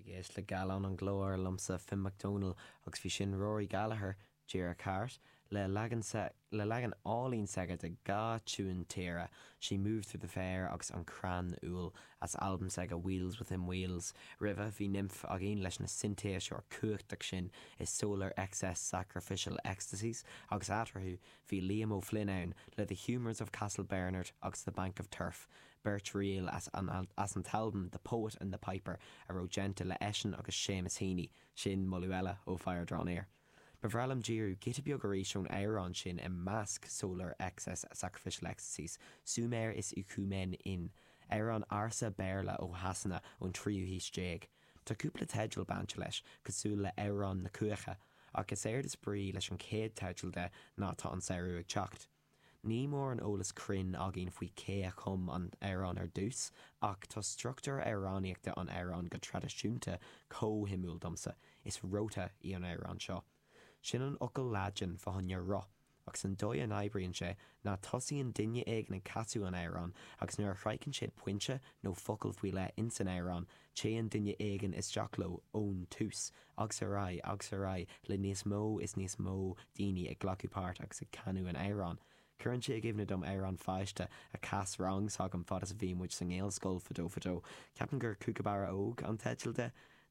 Tú ag éisteacht le Gallán an Ghlóir liomsa Finn Mac Dónaill agus bhí sin Rory Gallagher, díreach thart, le leagan le leagan álainn s'aige de dhá tiúin tíre, She Moved Through the Fair agus An Crann Úll, as albam s'aige Wheels Within Wheels. Roimhe, bhí Nymph againn leis na sintéiseoir cumhachtach sin i Solar Excess Sacrificial Ecstasies agus eatarthu, bhí Liam O'Flynn ann le The Humours of Castle Bernard agus The Bank of Turf, beirt ríl as an as an t-albam The Poet and the Piper a raibh déanta le eisean agus Seamus Heaney, sin moladh eile ó Fire Draw Near. Ba bhreá liom díriú giota beag arís ón amhrán sin i measc Solar Excess Sacrificial Ecstasies, Sumair is Oecumene Inn, amhrán ársa Béarla ó Shasana ón tríú haois déag. Tá cúpla teideal bainte leis, cosúil le Amhrán na Cuaiche, ach is éard is brí leis an chéad teideal de ná Tá an Samhradh ag Teacht. Ní mórán eolas cruinn againn faoi cé a chum an t-amhrán ar dtús, ach tá struchtúr amhránaíochta an amhráin go traidisiúnta chomh shuimiúil domsa, is rota í an amhrán seo. Sin an fhocal Laidin fá choinne roth, agus an dóigh a n-oibríonn sé ná tosaíonn duine éigin ag casadh an amhráin agus nuair a shroicheann siad pointe nó focal faoi leith ins an amhrán, téann duine éigin isteach leo ón tús, agus ar aghaidh agus ar aghaidh le níos mó is níos mó daoine ag glacadh páirt agus ag canadh an amhráin. Cuireann sé i gcuimhne dom amhrán pháiste a chas rang s'agam fad is a bhí muid sa nGaelscoil fadó fadó. Ceapaim gur Kookaburra Óg an teideal de.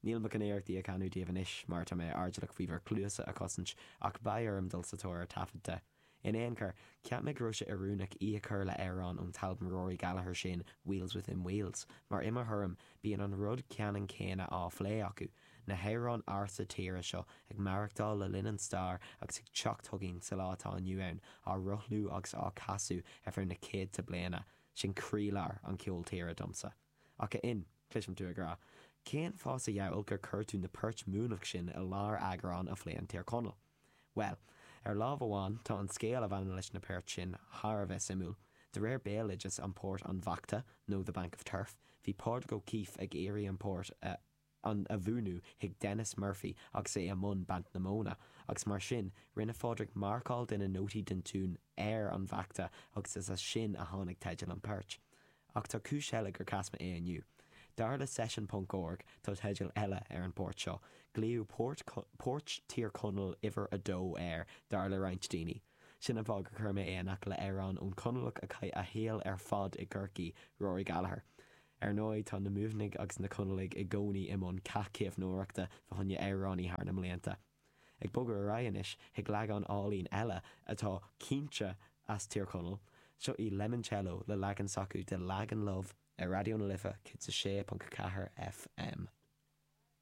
Níl mé chun iarracht í a chanadh daoibh anois mar tá mé airdeallach faoi bhur cluasa a chosaint ach beidh orm dul sa tóir ar taifead de. In aon chor, cheap mé go raibh sé oiriúnach í a chur le amhrán ón t-albam Rory Gallagher sin, Wheels Within Wheels, mar i mo thuairim, bíonn an rud ceannann céanna á phlé acu, na hamhráin ársa tíre seo ag maireachtáil le linn an stair agus ag teacht chugainn sa lá atá inniu ann, á rothlú agus á casadh ar feadh na céadta bliana. Sin croílár an cheoil tíre domsa. Ach a Fhinn, cloisim tú ag rá, cén fáth sa diabhal gur chuir tú na poirt Mhumhnach sin i lár eagrán a phléann Tír Chonaill? Bhuel, ar lámh amháin, tá an scéal a bhaineann leis na poirt sin thar a bheith suimiúil. De réir béaloideas, an port An Bhachta, nó The Bank of Turf, bhí Pádraig O'Keeffe ag iarraidh an port a an a mhúineadh chuig Denis Murphy agus é i mbun baint na móna, agus mar sin, rinne Phádraig marcáil de na nótaí den tiún ar an bhachta agus is as sin a tháinig teideal an phoirt. Ach tá cúis eile gur chas mé é inniu. Dar le Session ponc org tá teideal eile ar an bport seo. Glaodh Port Poirt Tír Chonaill uimhir a dó air, dar le roinnt daoine. Sin an fáth gur chuir mé é in aice le amhrán ón Chonallach a chaith a shaol ar fad i gCorcaigh, Rory Gallagher. Ar ndóigh tá na Muimhnigh agus na Conallaigh i gcónaí i mbun cath caomhnóireachta fá choinne amhránaí thar na mblianta. Ag bogadh ar aghaidh anois chuig leagán álainn eile atá cinnte as Tír Chonaill, seo í Lemoncello le leagan s'acu de Lagan Love ar Raidió na Life 106.4 FM.